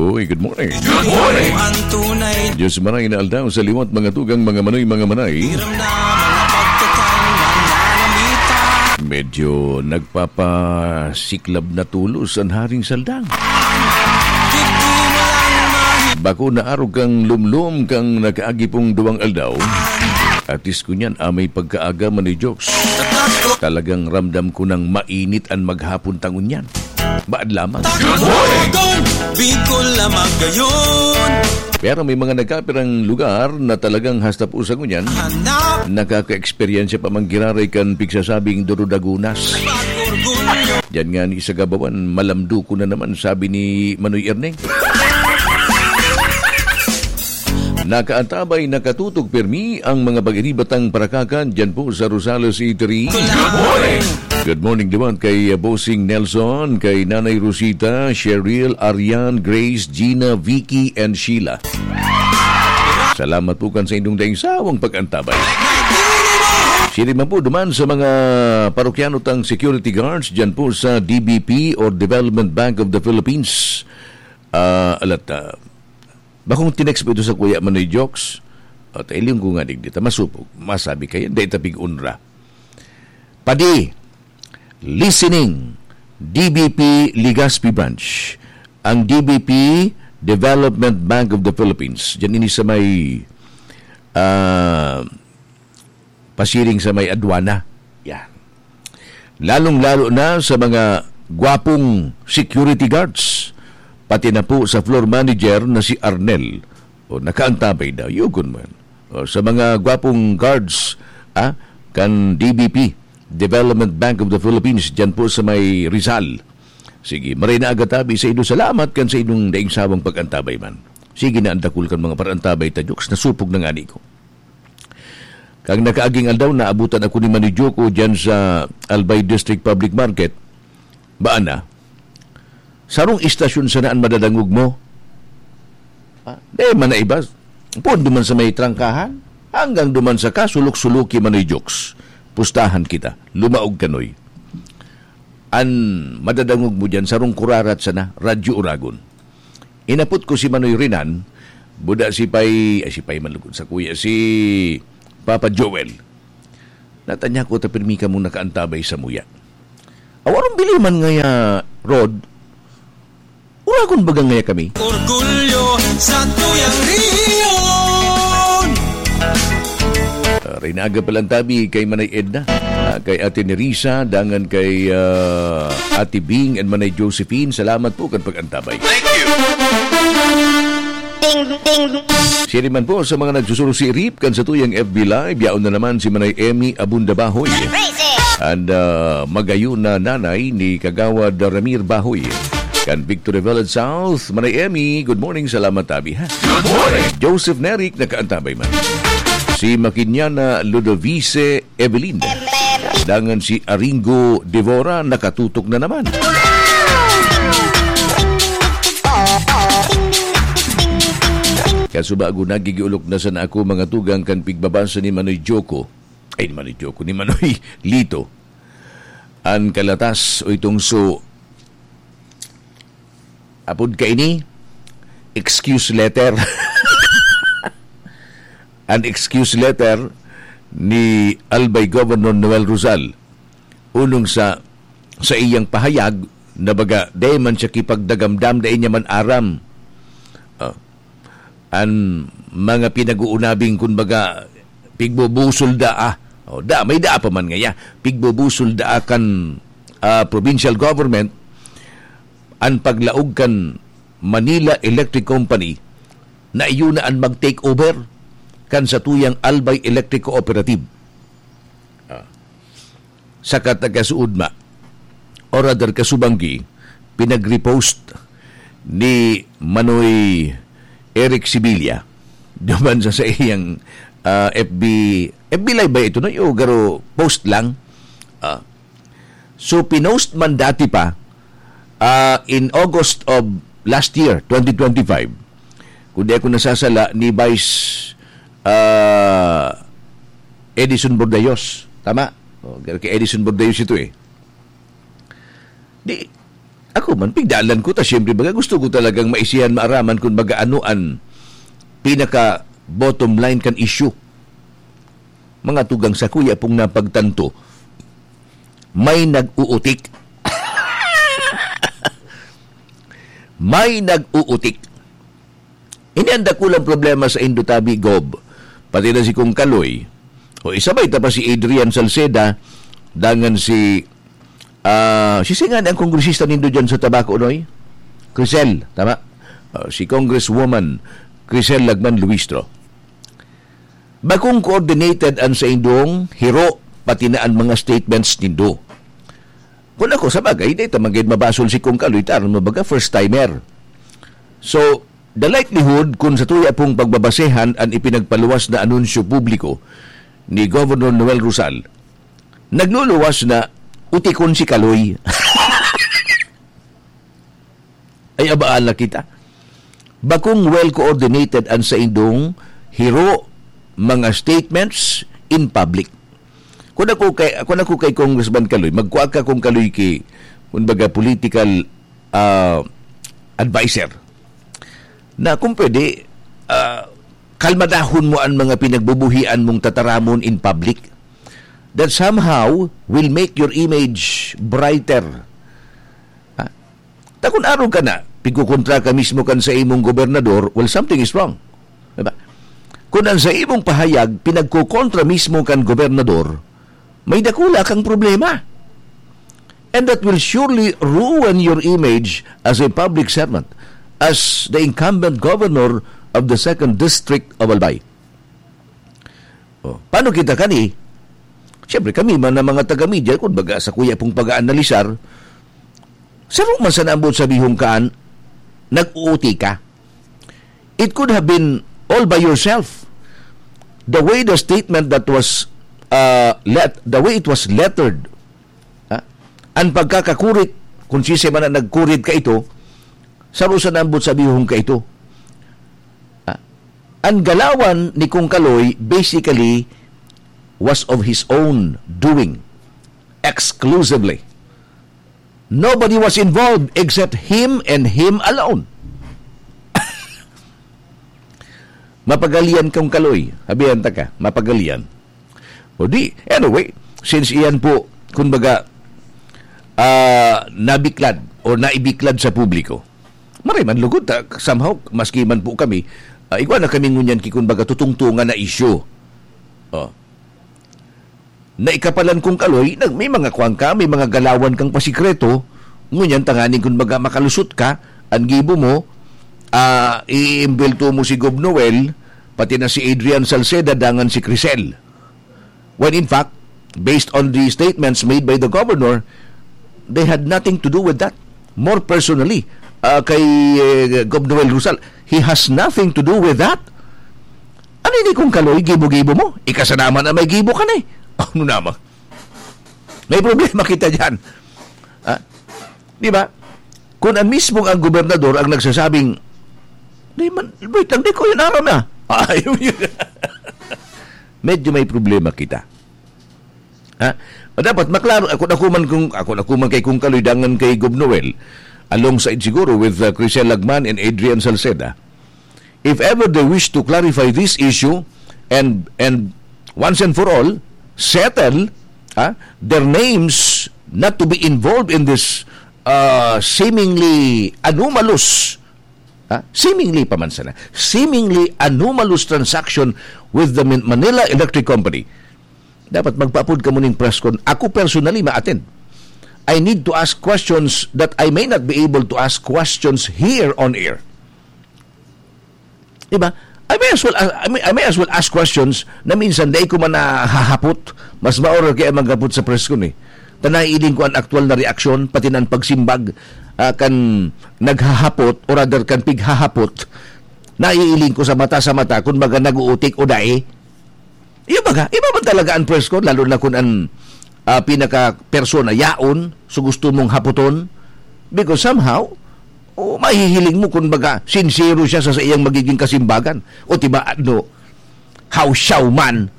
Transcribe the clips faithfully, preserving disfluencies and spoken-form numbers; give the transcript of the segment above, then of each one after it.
Uy, good morning. Good morning. Ang tunay Diyos maray na aldaw sa liwat, mga tugang, mga manoy, mga manay. Hiram na mga pagkakainan na namitan. Medyo nagpapasiklab na tulos an Haring Saldang. Bako na arog kang lumlom kang nakaagi pong duwang aldaw. Atis ko niyan, amay pagkaaga man ni Jokes. Talagang ramdam ko nang mainit an maghapon ta ngunyan. Baad lamang. Good morning! Bicol lamang gayon. Pero may mga nagkapirang lugar na talagang hasta po sa ngunyan, Hanap nakaka-eksperyensya pa man giraray kan pigsasabing durudagunas. Orgulyo. Diyan nga ni sa Gabawan, malamdo ko na naman, sabi ni Manoy Erneng. Nakaantabay, nakatutok pirmi ang mga pag-iribatang parakakan dyan po sa Rosales Eatery. Good morning! Good morning naman kay, uh, Bossing Nelson, kay Nanay Rosita, Cheryl, Arian, Grace, Gina, Vicky, and Sheila. Salamat po kan sa inyong daing sawang pag-antabay. Siring man po duman sa mga parokyano tang security guards dyan po sa D B P or Development Bank of the Philippines. Ah, alat, ah, bakong tinext po ito sa Kuya Manoy Jokes. At iling ko nga digdi ta masupog, masabi kayo, dahil tapig unra. Padi, listening, D B P Legazpi Branch. Ang D B P Development Bank of the Philippines. Diyan ini sa may, ah, pasiring sa may adwana. Yan. Lalong-lalo na sa mga gwapong security guards, pati na po sa floor manager na si Arnel. O, nakaantabay daw. Yugon man. O, sa mga gwapong guards, ah, kan D B P, Development Bank of the Philippines, dyan po sa may Rizal. Sige, maray na aga tabi sa inyo. Salamat kan sa inyong daing sawang pag-antabay man. Sige na, ang dakul kan mga parantabay ta, Jokes. Nasupog na nga ni ko. Kang nakaaging aldaw, naabutan ako ni Manoy Joko dyan sa Albay District Public Market. Baan na? Sarong istasyon sana an madadangog mo? Ah, di man na iba. Poon duman sa may trangkahan, hanggang duman sa kasulok-suloki Manoy Jokes. Pustahan kita. Lumaog kanoy. An madadangog mo dyan, sarong kurarat sana, Radyo Uragon. Inapot ko si Manoy Renan, buda si Pay, ay, si Pay man lugod sa kuya, si Papa Joel. Natanya ko ta pirmi kamong nakaantabay sa muya. Awarong bili man ngaya, Rod, uragon baga ngaya kami. Orgulyo sa tuyang riyon. Ah, Rinaga palantabi kay Manay Edna, ah, kay Ate Nerissa, dangan kay, ah, Ate Bing and Manay Josephine. Salamat po kan pag-antabay. Thank you. Ding, ding. Siya naman po sa mga nagsusurusirip kan sa tuyang F B Live, yaon na naman si Manay Emmy Abunda Bahoy. And, ah, magayon na nanay ni Kagawad Ramir Bahoy. Kan Victory Village South, Manay Emmy, good morning, salamat tabi, ha? Good morning. Joseph Neric, nakaantabay man. Si Makinyana Ludovice Evelyn. Dangan si Aringo Devora, nakatutok na naman. Kasubago, nagigiulok na sana ako, mga tugang, kan pigbabasa ni Manoy Joko. Ay, ni Manoy Joko, ni Manoy Lito. An kalatas o itong so, apod kaini, excuse letter. An excuse letter ni Albay Governor Noel Rosal. Unong sa, sa iyang pahayag na baga, dai man siya kipagdagamdam, dai niya man aram. Ah, an mga pinag-uunabing, kun baga, pigbubusol daa. O, da, may daa pa man ngaya. Pigbubusol daa kan, ah, provincial government, an paglaog kan Manila Electric Company na iyo na an mag-take over kan satuyang Albay Electric Cooperative. Ah. Saka ta kasuodma, o rather kasubanggi, pinag-repost ni Manoy Eric Sibilia duman sa, sa iyang, ah, F B, F B Live ba ito, no? Yo, garo post lang. Ah. So, pinost man dati pa, ah, in August of last year, twenty twenty-five, kung di ako nasasala, ni Vice, ah, Edison Bordayos. Tama? O, kay Edison Bordayos ito eh. Di, Ako man, pigdalan ko ta, siyempre, baga gusto ko talagang maisihan, maaraman kung baga ano an pinaka bottom line kan issue. Mga tugang, sa kuya pong napagtanto, may nag-uutik. May nag-uutik. Ini ang dakulang problema sa Indotabi, Gob. Pati na si Kong Kaloy. O, isabay ta pa si Adrian Salceda, dangan si, ah, si singani ang kongresista nindo dyan sa Tabaco, Noy? Crisel, tama? Ah, si Congresswoman Crisel Lagman Luistro. Bakong coordinated an saindong hiro, pati na an mga statements nindo. Kung ako, sa bagay, di ta man gayud mabasol si Kong Kaloy, ta aram mo baga, first timer. So, the likelihood, kung sa tuya pong pagbabasehan an ipinagpaluwas na anunsyo publiko ni Governor Noel Rosal, nagluluwas na utikon si Kaloy. Ay, abaan na kita. Bakong well coordinated an saindong hiro, mga statements in public. Kung ako kay, kung ako kay Congressman Kaloy, magkua ka, Kong Kaloy, ki, kumbaga, political, ah, advisor. Na kung pwede, ah, kalmadahon mo an mga pinagbubuhian mong tataramon in public. That somehow will make your image brighter. Ha? Ta kun arog ka na, pigkukontra ka mismo kan sa imong gobernador, well, something is wrong. Diba? Kun an sa imong pahayag, pinagkukontra mismo kan gobernador, may dakula kang problema. And that will surely ruin your image as a public servant, as the incumbent governor of the second district of Albay. Oh, paano kita kani? Siyempre, kami man na mga taga-media, kung baga sa kuya pong pag-aanalisar, saro man sana ang buot sabihon kaan, nag-uoti ka. It could have been all by yourself. The way the statement that was, uh, let, the way it was lettered, ha? Ang pagkakakurit, kung sisay man ang nagkurit ka ito, saro sana ang buot sabihon ka ito. Ha? Ang galawan ni Kong Kaloy, basically, was of his own doing. Exclusively. Nobody was involved except him and him alone. Mapagalian kang Kaloy. Habihan ta ka, mapagalian. O di, anyway, since iyan po, kumbaga, ah, nabiklad o naibiklad sa publiko, maray man lugod ta, somehow, maski man po kami, ah, igwa na kami ngunyan ki, kumbaga, tutungtungan na isyu. Oh. Naikapalan kong Kaloy, nag-, may mga kuwan ka, may mga galawan kang pasikreto, ngunyan tanganing kun baga makalusot ka, an gibo mo, ah, iimbelto mo si Gob Noel, pati na si Adrian Salceda, dangan si Crisel. When in fact, based on the statements made by the governor, they had nothing to do with that. More personally, ah, kay, eh, Gob Noel Rosal, he has nothing to do with that. Ano ini kung Kaloy, gibo-gibo mo? Ika sana man ang may gibo ka na eh. Ano naman? May problema kita dyan. Ha? Di ba? Kung ang mismong ang gobernador ang nagsasabing, "Di man, wait lang, di ko yun aram na." Ayaw yun. Medyo may problema kita. Ha? Dapat maklaro, ako na kuman kung, ako na kuman kay Kung Kaloy dangan kay Gob Noel, alongside siguro with, uh, Crisel Lagman and Adrian Salceda. If ever they wish to clarify this issue and, and once and for all, settle, ha, their names not to be involved in this, uh, seemingly anomalous, ha, seemingly pa man sana, seemingly anomalous transaction with the Min-, Manila Electric Company. Dapat magpaapod ka muning press con. Ako personally, ma-attend. I need to ask questions that I may not be able to ask questions here on air. Diba? I may as well, I may, I may as well ask questions na minsan dai ko man nahahapot. Mas maoro kaya maghapot sa press con eh. Ta naiiling ko an aktual na reaksyon, pati na an pagsimbag, ah, kan naghahapot, o rather, kan pighahapot. Naiiling ko sa mata sa mata kung baga nag-uutik o dai. Iyo baga, iba man talaga an press con, lalo na kun an, ah, pinaka-persona yaon, so gusto mong hapoton. Because somehow, o mahihiling mo, kun baga, sinsero siya sa, sa iyang magiging kasimbagan. O tiba, ano, how siya man.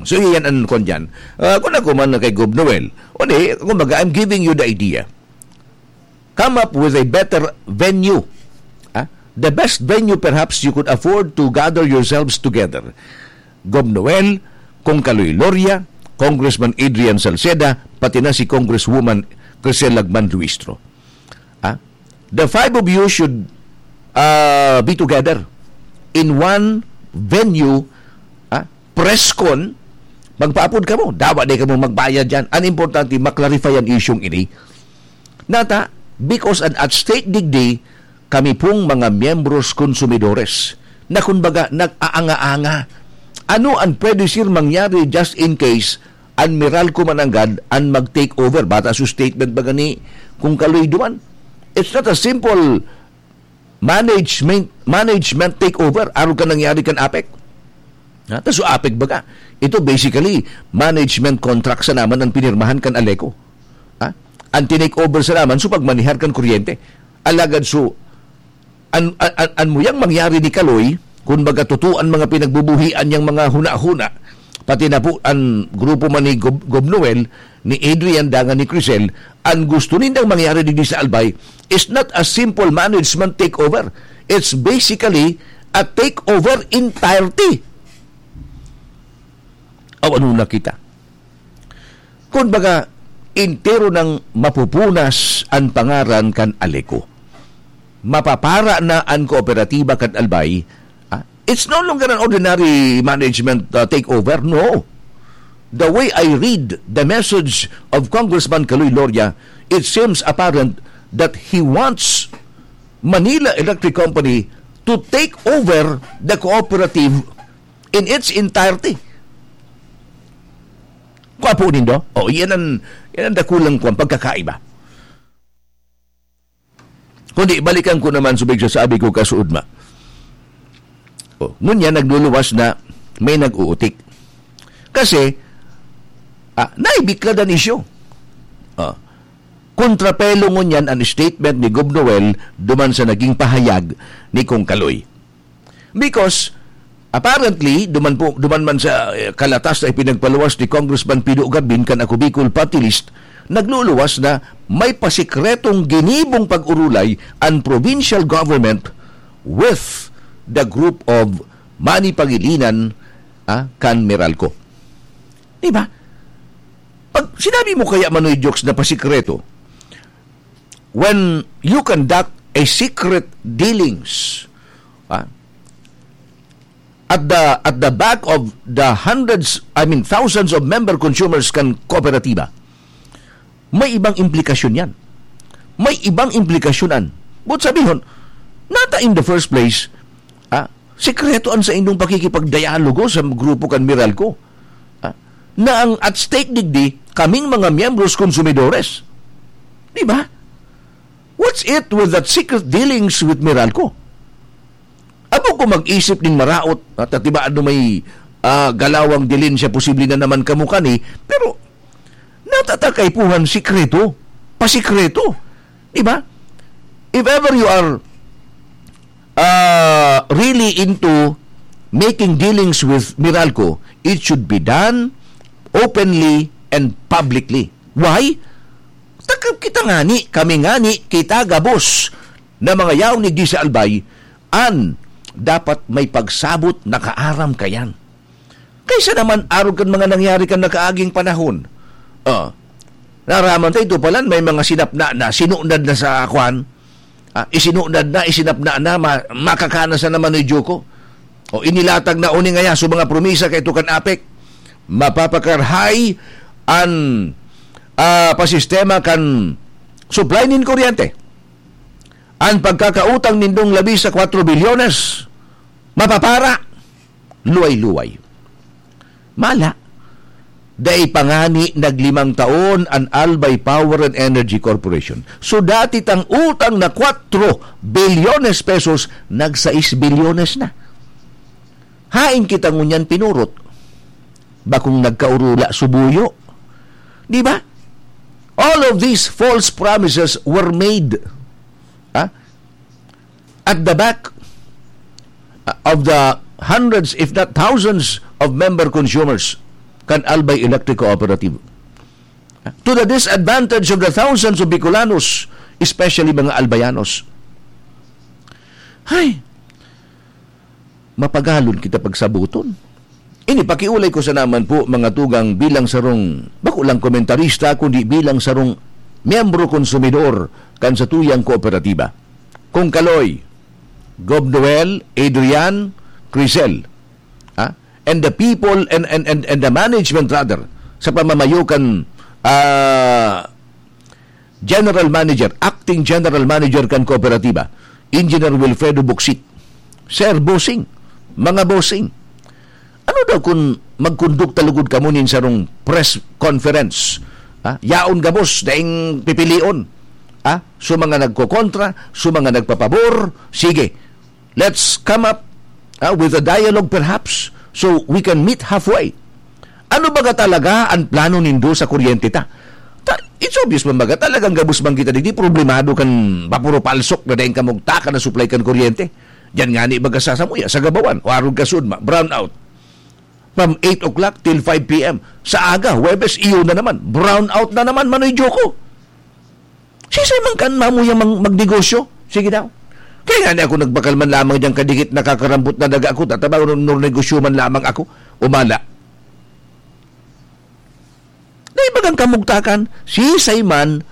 So, iyan ang kwan dyan. Ah, kung ako man kay Gob Noel, o di, kumbaga, I'm giving you the idea. Come up with a better venue. Ah? The best venue perhaps you could afford to gather yourselves together. Gob Noel, Kong Kaloy Loria, Congressman Adrian Salceda, pati na si Congresswoman Crisel Lagman Luistro. Ah? The five of you should, ah, be together in one venue, ah, press con, magpaapod kamo. Dawa di kamo magbayad dyan. Ang importante, maklarify ang isyong ini. Nata, because an at stake digdi, kami pong mga miyembros konsumidores na kumbaga nag-aanga-anga. Ano ang pwede, sir, mangyari just in case an Meralco mananggad an mag-take over? Bata sa statement ba gani kung kaloy duman? It's not a simple management management takeover. Arog ka nangyari kan APEC. Ha? Ta so APEC baga. Ito basically, management contract sa naman ang pinirmahan kan Aleco. Ha? Ang tinake over sa naman, so pagmanihar kan kuryente. Alagad so, an, an, an, an muyang mangyari ni Kaloy, kung baga totoo ang mga pinagbubuhian niyang mga huna-huna, pati na po ang grupo man ni Gob, Gob Noel, ni Adrian, dangan ni Crisel, ang gusto nindang mangyari digdi sa Albay is not a simple management takeover. It's basically a takeover entirety. Aw, ano na kita? Kung baga, entero nang mapupunas ang pangaran kan Aleco. Mapapara na ang kooperatiba kan Albay. Ah, it's no longer an ordinary management, uh, takeover. No. The way I read the message of Congressman Kaloy Loria, it seems apparent that he wants Manila Electric Company to take over the cooperative in its entirety. Kwapo nindo? O, yan ang, yan ang dakulang kwan, pagkakaiba. Kundi, balikan ko naman sa pagsasabi ko kasuodma. O, ngunyan, nagluluwas na may nag-uutik. Kasi, ah, naibiklad ang isyu. Ah, kontrapelo ngunyan ang statement ni Gob Noel duman sa naging pahayag ni Kong Kaloy. Because, apparently, duman po, duman man sa, eh, kalatas na ipinagpaluwas ni Congressman Pido Garbin kan Ako Bicol Party List, nagluluwas na may pasikretong ginibong pag-urulay ang provincial government with the group of Manny Pangilinan, ah, kan Meralco. Di ba? Pag sinabi mo kaya, Manoy Jokes, na pasikreto, when you conduct a secret dealings, ah, at the, at the back of the hundreds, I mean, thousands of member consumers kan kooperatiba, may ibang implikasyon yan. May ibang implikasyon an. But sabihon, nata in the first place, ah, sikreto an saindong pakikipagdialogo sa grupo kan Meralco. Ah, na ang at stake digdi, kaming mga miyembros, konsumidores. Di ba? What's it with that secret dealings with Meralco? Abo ko mag-isip nin maraot, at atiba ano may, ah, galawang dilin siya, posible na naman kamo kani, pero natatakay puhan sikreto, pasikreto. Di ba? If ever you are, ah, really into making dealings with Meralco, it should be done openly and publicly. Why? Takab kita ngani, kami ngani, kita gabos na mga yaon ni Gisa Albay, an dapat may pagsabot na kaaram kayan. Kaysa naman arog kan mga nangyari kan nakaaging panahon. Ah, naraman ta ito palan, may mga sinapna na, sinunad na sa kwan. Ah, isinunad na, isinapna na, ma-, makakana sa naman ni Joko. O inilatag na uni ngaya sa mga promisa kay Tukan Apek. Mapapakarahay an, ah, pasistema kan supply nin kuryente. An pagkakautang nindong labi sa kwatro bilyones, mapapara. Luway-luway. Mala, dai pa ngani naglimang taon an Albay Power and Energy Corporation. So, dati tang utang na kwatro bilyones pesos, nag sais bilyones na. Hain kita ngunyan pinurot? Bakong nagkaurula subuyo. Di ba? All of these false promises were made. Ha? At the back, uh, of the hundreds, if not thousands, of member consumers. kan Albay Electric Cooperative, to the disadvantage of the thousands of Bicolanos, especially mga Albayanos. Hay, mapagalon kita pagsabuton. Ini, pakiulay ko sana man po, mga tugang, bilang sarong, bako lang komentarista, kundi bilang sarong miyembro konsumidor kan satuyang kooperatiba. Kung Kaloy, Gob Noel, Adrian, Crisel, ah, and the people and, and, and, and the management rather, sa pamamayo kan, ah, General Manager, Acting General Manager kan kooperatiba, Engineer Wilfredo Bucsit. Sir, bossing, mga bossing, ano daw kun magkondukta lugod kamo nin sarong press conference? Ha? Yaon gabos, daing pipilion. Ha? So, mga nagkokontra, so, mga nagpapabor, sige, let's come up, ah, with a dialogue perhaps, so we can meet halfway. Ano baga talaga an plano nindo sa kuryente ta? Ta-, it's obvious man baga, talagang gabos man kita digdi, problemado kan bapuro palsok na daing kamugtakan na supply kan kuryente. Diyan ngani baga sa samuya, sa Gabawan, o arog ka Sudma, brownout. From eight o'clock till five p m. Sa aga, Huwebes, iyo na naman. Brownout na naman, Manoy Joko. Sisay man kan mamuyang mang-, magnegosyo? Sige daw. Kaya ngani ako nagbakal man lamang diyang kadikit nakakarambot na daga ako, tatabaw nun, nun negosyo man lamang ako. Umala. Dai bagang kamugtakan, sisay man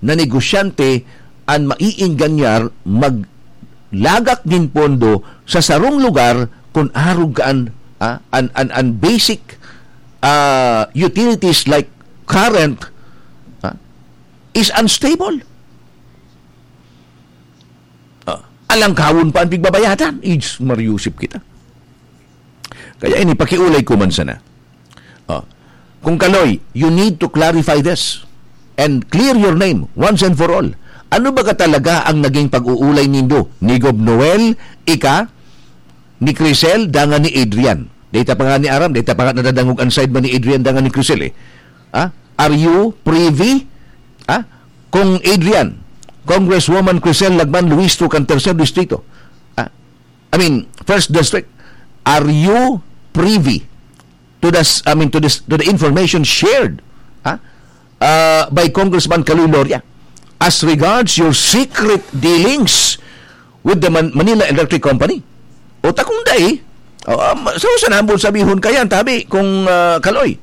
na negosyante an maiingganyar maglagak nin pondo sa sarong lugar kun arog ka an, ah, an, an, an basic, ah, utilities like current, ah, is unstable. Ah, alangkawon pa an pigbabayadan. Ijs, mariusip kita. Kaya ini, pakiulay ko man sana. Ah, kung Kaloy, you need to clarify this and clear your name once and for all. Ano baga talaga ang naging pag-uulay nindo ni Gob Noel, ika, ni Crisel, dangan ni Adrian? Data pa nga ni Aram, data pa nga nadadangog an side man ni Adrian dangan ni Crisel eh. Ah, are you privy? Ah, kung Adrian, Congresswoman Crisel Lagman Luistro kan Tercer Distrito, ah, I mean, First District, are you privy to the s-, I mean, to this, to the information shared, ha? Uh, by Congressman Kaloy Loria as regards your secret dealings with the Man-, Manila Electric Company? O ta kung dai, o, um, sa usan hambol sabihon kayan, tabi, kung, ah, Kaloy.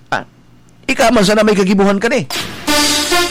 Ah, ika man sana may kagibuhan ka ni.